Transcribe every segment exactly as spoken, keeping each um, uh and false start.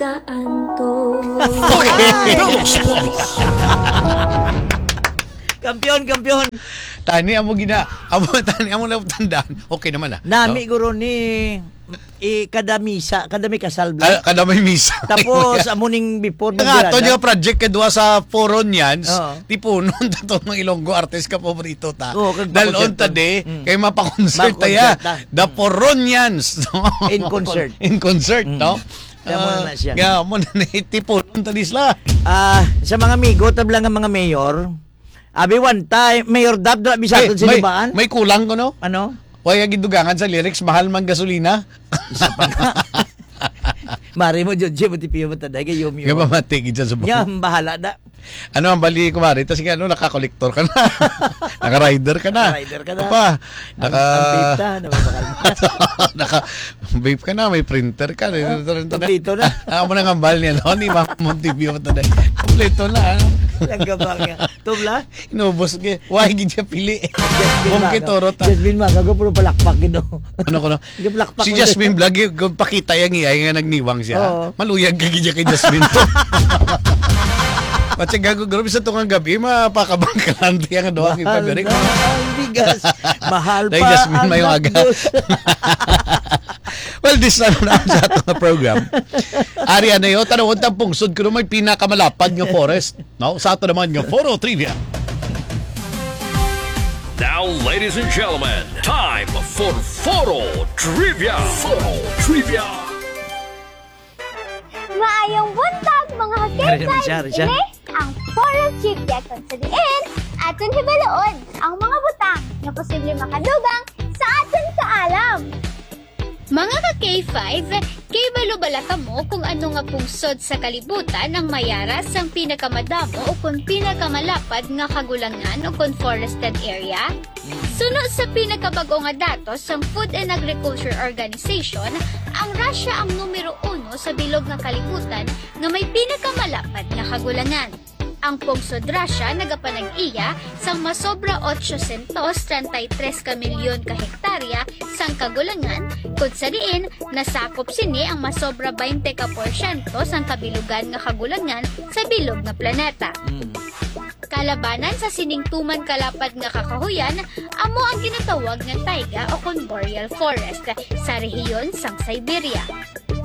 kaanto. Kampiyon, kampiyon. Tani amo gina, amo, tani amo na tandaan. Okay naman, ah. Nami No? guro ni, eh, kada misa, kada may kasal, bro. Ah, kada may misa. Tapos, amo ning before Nga, to magdala. Yung project kadwa sa Foron yan, Oo. Tipunon ta to ng Ilonggo artist ka paborito ta. Oo, kag Dalon pakonserto. ta di, Mm. kay mapakonsert ta ya. Makonserta. The Mm. Foronians. In concert. In concert, Mm. no? Kaya mo Ah, na siya. Kaya mo na tipunon ta di sila. Ah, sa mga amigo, tabla nga mga mayor, abi one time, Mayor Dab, dra Ay, bisaton may, sinubaan. May kulang ko, no? Ano? Waya gidugangan sa lyrics, mahal man gasolina. Isa pa nga. Mari mo, Judge, mo tipiyo mo taday, kay yum, yum. Nga mamati gid sa subong. Nga, bahala na. Ano ang bali, kumari? Tas nga, ano, naka-collector ka na. Naka-rider ka na. Naka-rider ka na. Apa? Ang, Naka, ang vape na, nababakal na. naka-vape ka na, may printer ka. Kompleto na. Ano mo nang ambal niya, no? Ni Ma'am Montebio mo taday. Kompleto na, ano? Lang ka ba nga? Tubla? Inubos ka. Why gid siya pili? Jasmine Bongke Maga. Toro ta. Jasmine Maga, go, puro palakpak, you know. Ano ko, no? Gapalakpak Si ko. Jasmine Vlog, yung, yung pakita yung iya, yung nagniwang siya. Oo. Maluyag ka gid kay Jasmine. Pati gago, grabe sa tungang gabi, mapakabangkalan tiya nga doha kay Mahal Pagari. na ang bigas. Mahal Dahil pa Jasmine, ang may aga. Lagdos. Well, this na na sa atong program. Ari, ano yun? Tanawon ta ang pungsod kuno may pinakamalapad nga forest. No? Sa ato naman nga Foro Trivia. Now, ladies and gentlemen, time for Foro Trivia. Foro Trivia. Maayong buntag, mga Ari naman siya, ari siya. Ini ang Foro Trivia, kung sa diin aton hibaluon ang mga butang nga posible makadugang sa aton kaalam. Mga ka K five, kay balo bala kamo kung ano nga pungsod sa kalibutan ang mayara sang pinakamadamo o kon pinakamalapad nga kagulangan o kon forested area? Suno sa pinakabag-o nga datos sang Food and Agriculture Organization, ang Russia ang numero uno sa bilog nga kalibutan nga may pinakamalapad nga kagulangan. Ang pungsod Russia nagapanag-iya sang masobra ochocientos treinta y tres ka milyon ka hektarya sang kagulangan, kun sa diin nasakop sini ang masobra baynte ka porsyento sang kabilugan nga kagulangan sa bilog nga planeta. Mm. Kalabanan sa sining tuman kalapad nga kakahuyan amo ang ginatawag nga taiga o kon boreal forest sa rehiyon sang Siberia.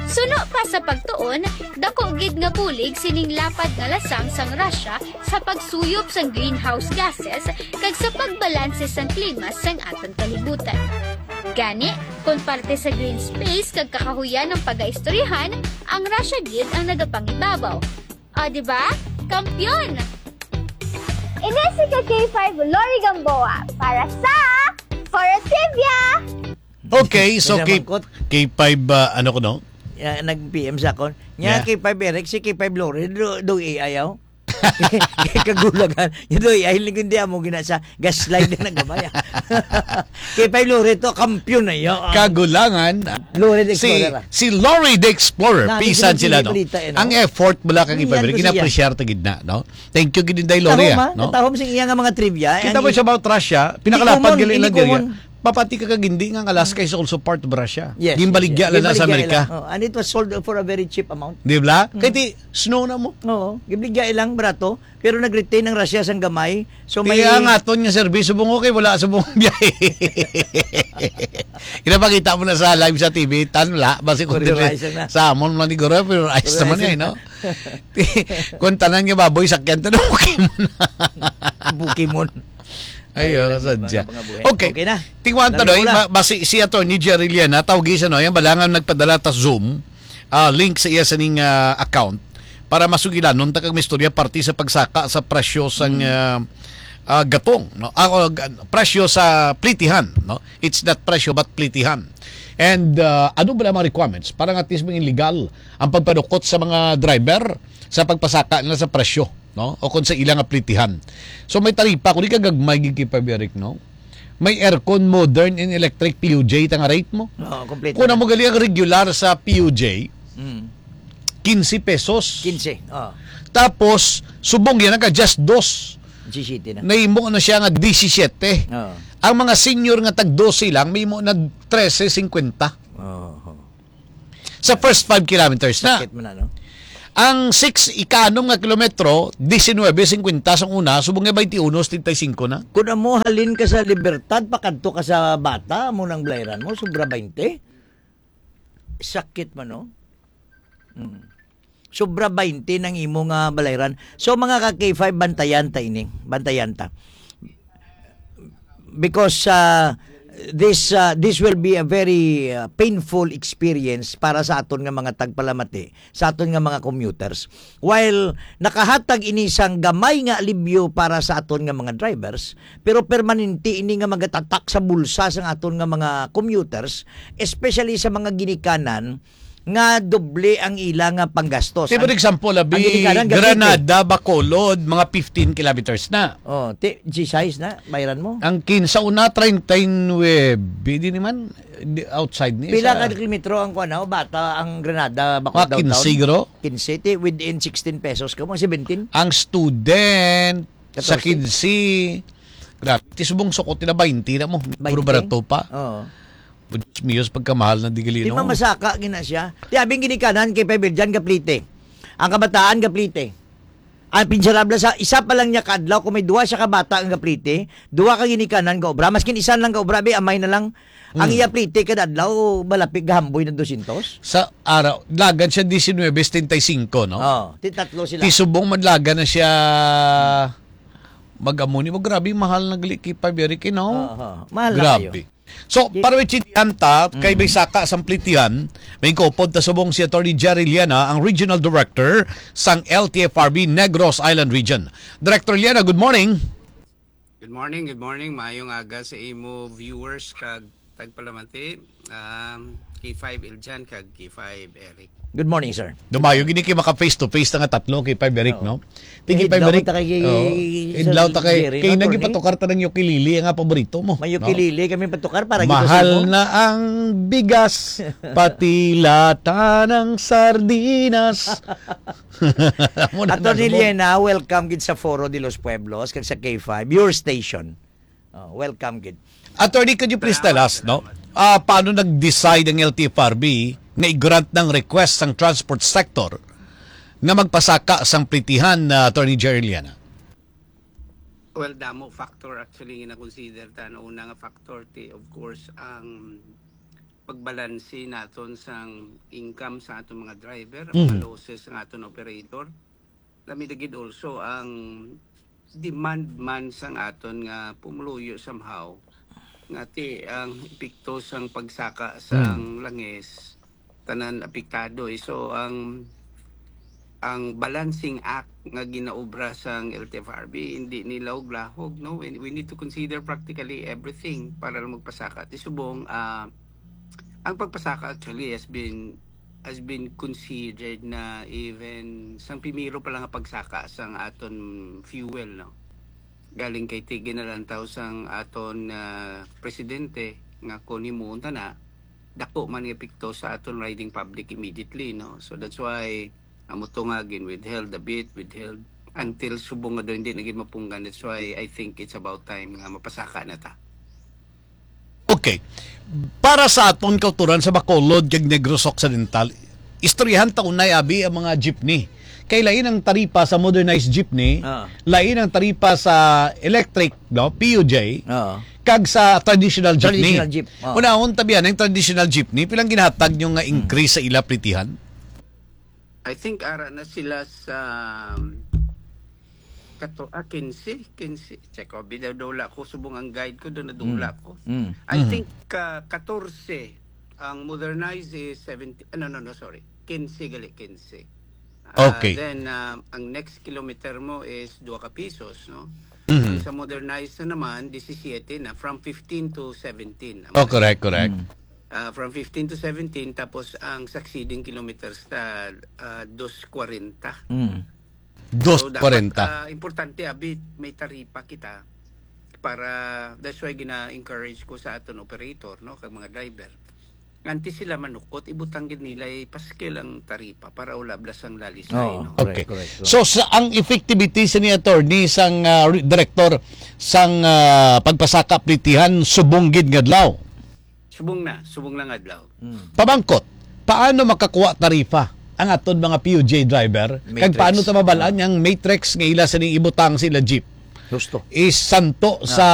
Suno pa sa pagtuon, dako gid nga bulig sining lapad nga lasang sang Russia sa pagsuyop sang greenhouse gases kag sa pagbalanse sang klima sang aton kalibutan. Gani, kon parte sa green space kag kakahuyan ang pagaistoryahan, ang Russia gid ang nagapangibabaw. O, di ba? Kampiyon! Ini si ka K five Lori Gamboa para sa Foro Trivia! Okay, so May K-, namangkot. K five, ah, ano ko, no? Ya, nag-P M sa akon. Nya, Yeah. K five Eric, si K five Lori, do, do A I, aw? Kagulangan. Nya, do A I, lingkod di amo gina sa gaslight na nagabaya. K five Lori to, kampiyon na yun. Kagulangan. Lori the Si, Explorer, ah. si Lori the Explorer, Nami pisan sila sila, no? balita, eh, no? Ang effort mo lang kang Ang ipabirik, yan ko siya. gina-appreciate ta gid na, no? Thank you gid, Inday Lori, Tahom, ah, ah. no? Tahom sing iya nga mga trivia, eh, Kita ang mo gi-, siya about Russia, Hindi pinakalapad common, gali hindi lang diri. common. Papati ka kag hindi nga ang Alaska is also part of Russia. Yes, Ginbaligya yes, lang na sa ginbaligya Amerika. lang. Oh, and it was sold for a very cheap amount. Di ba? Mm. Kay ti, snow na mo. Oo, ginbaligya ilang barato, pero nag-retain ang Russia sang gamay. So, may Kaya ang aton nga serbisyo, subong okay, wala subong biyahe. Inapakita mo na sa live sa T V, tan, wala. Basi kung For your dili, eyes lang na. sa amon man ni Goro, for your eyes For your naman eyes eh, lang no? na. Kung tanan nga baboy, sakyan to na Pokemon. Pokemon. Ay, Ay, oh, lang, sadya. mga, mga buhay. Okay. Okay na. Tingwan ta, Dami Doy. ko na. Ma-, basi si Attorney Jerry Liana, tawgi siya, no? Yan, balangan nagpadala ta Zoom, ah, link sa iya sining, ah, account para masugilanon ta kag may istorya parte sa pagsaka sa presyo sang, Hmm. ah, ah, gatong, no? Ah, o, ga-, presyo sa plitihan, no? It's not presyo but plitihan. And, ah, ano ba ang mga requirements para nga at least maging legal ang pagpadukot sa mga driver sa pagpasaka nila sa presyo, no? O kung sa ilang aplitihan. So, may taripa, kung di ka gagmay, gid kay Paberic, no? May aircon, modern and electric P U J, ta nga rate mo. Oo, kompleto Kung na. Amo gali ang regular sa P U J, Mm. quince pesos. Quince, oo. Tapos, subong yan, nagka just dos. Disisiyete na. Nahimo na siya nga disisiyete. Oo. Ang mga senior nga tag dose lang, may mo nag trese cincuenta. Oo. Sa first five kilometers na. Sakit man na, no? Ang six, ika-anom nga kilometro, diecinuebe cincuenta sang una, subong nga twenty-one setenta y cinco na. Kung amo halin ka sa Libertad, pakadto ka sa Bata, amo nang balayran mo, sobra twenty. Sakit man, no? Hmm. Sobra twenty nang imo nga balayran. So, mga ka K five, bantayan ta ini. Bantayan ta. Because, uh, this, uh, this will be a very, uh, painful experience para sa aton nga mga tagpalamati, sa aton nga mga commuters. While nakahatag ini sang gamay nga alibyo para sa aton nga mga drivers, pero permanente ini nga magatatak sa bulsa sang aton nga mga commuters, especially sa mga ginikanan nga doble ang ila nga panggastos. Say, for Ang, example, abi, ang ginikanan, Granada, Bacolod, mga fifteen kilometers na. Oh, ti, G size na, bayran mo. Ang kinsa una, treinta y nueve, di naman, di, outside ni Pila sa ka kilometro ang kuwan, oh, Bata, ang Granada, Bacolod, Mga quince, downtown? Gro? Quince, ti, within sixteen pesos ka, mga seventeen. Ang student, sa Katorse. Quince, grabe, ti subong sukot nila twenty na mo. Puro Twenty? Barato pa. Oo. Diyos mio, sa pagkamahal na digali, Di no? Mamasaka gina siya. Ti abing ginikanan kay Pebel dyan, gaplite. Ang kabataan, gaplite. Ang pinsarabla sa isa pa lang niya kadlaw, kung may duwa siya ka bata ang gaplite, duwa ka ginikanan ga obra. Maskin isa lang ga obra, bi, amay na lang. Ang Mm. iya plite kada adlaw, malapit gahamboy na dosyentos. Sa araw, lagan siya diecinuebe setenta y cinco, no? Oh, ti tatlo sila. Ti subong madlagan na siya mag-amo ni mo. Grabe, mahal na gali kay Paberic, no? Oho, mahal na Grabe. kayo. So, Di- para maintindihan ta, kay Mm. may saka sang plitihan, may kaupod ta subong si Attorney Jerry Liana, ang Regional Director sang L T F R B Negros Island Region. Director Liana, good morning. Good morning, good morning. Maayong aga sa imo viewers kag tagpalamati. Um, K five Iljan kag K five Eric. Good morning, sir. Dumayo gini kay maka face to face na nga tatlo kay Five Eric, Oo. no? Thank you, Idlaw Five Eric. ta kay Oo. Sir Idlaw ta kay, Jerry, kay no, attorney? Nagipatukar ta ng ukulele nga paborito mo, May no? Ukulele kami patukar para gito Mahal sa imo. na ang bigas, pati lata ng sardinas. Amo na Attorney na, no? Liena, welcome gid sa Foro de los Pueblos kag sa K five, your station. Oh, welcome gid. Attorney, could you please tell Salamat, us, no? salamat. Ah, paano nag-decide ang L T F R B nga i-grant ng request sang transport sector nga magpasaka sang plitihan, ah, Attorney Jerry Liana? Well, damo factor actually nga na-consider ta. Ang una nga factor, ti, of course, ang pagbalanse naton sang income sa aton mga driver, ang mga Mhm. losses sa aton operator. Lami na gid also ang demand man sang aton nga pumuluyo somehow, nga ti ang epekto sang pagsaka sang Hmm. langis, tanan apektado, eh. So, ang, ang balancing act nga ginaobra sang L T F R B, hindi ni lahog-lahog, no? We, we need to consider practically everything para lang magpasaka. Ti subong, ah, ang pagpasaka actually has been, has been considered na even sang primero pa lang nga pagsaka sang aton fuel, no? Galing kay ti ginalantaw sang aton, ah, presidente nga kung himuon ta na, dako man nga epekto sa aton riding public immediately, no? So that's why amo to nga gin-withheld a bit, withheld until subong nga daw hindi na gid mapunggan. That's why I think it's about time nga mapasaka na ta. Okay. Para sa aton kauturan sa Bacolod kag Negros Occidental, istoryahan ta unay, abi, ang mga jeepney. Kay lain ang taripa sa modernized jeepney, Ah. lain ang taripa sa electric, no, P U J, Oo. kag sa traditional jeepney. Traditional jeep, oo. Unahon ta biya ang traditional jeepney, pilang ginhatag nyo nga Hmm. increase sa ila plitihan? I think ara na sila sa, um, kato, ah, quince, quince. Check ko, bidadula ko, subong ang guide ko, doon nadula Mm. ko. Mm. I Mm. think, uh, katorse, ang modernized is seventy, ah, no, no, no, sorry. Quince gali, quince. Ah, Okay. Then, um, ang next kilometer mo is dua ka pisos, no? Mm. Ang sa modernized na naman, disisiete na, from fifteen to seventeen. Oh, correct, correct. Mm. Ah, from fifteen to seventeen, tapos ang succeeding kilometers ta, ah, dos kwarenta. Mm. So, dapat, Dos kwarenta. ah, importante, abi, may taripa kita para, that's why gina-encourage ko sa aton operator, no, kag mga driver. Nganti sila manukot, ibutang gid nila, ipaskil ang taripa para wala blasang lalisay, Oo, no? correct, Okay. correct, correct. So, sa, ang effectivity sa ni attorney, sang, ah, re-, director, sang, ah, pagpasaka plitihan, subong gid nga adlaw? Subong na, subong lang adlaw. Mm. Pamangkot, paano makakuha tarifa ang aton mga P U J driver? Kag Matrix. Paano ta mabalaan nga ang matrix nga ila sining ibutang sa ila jeep? Husto. Isanto Ah. sa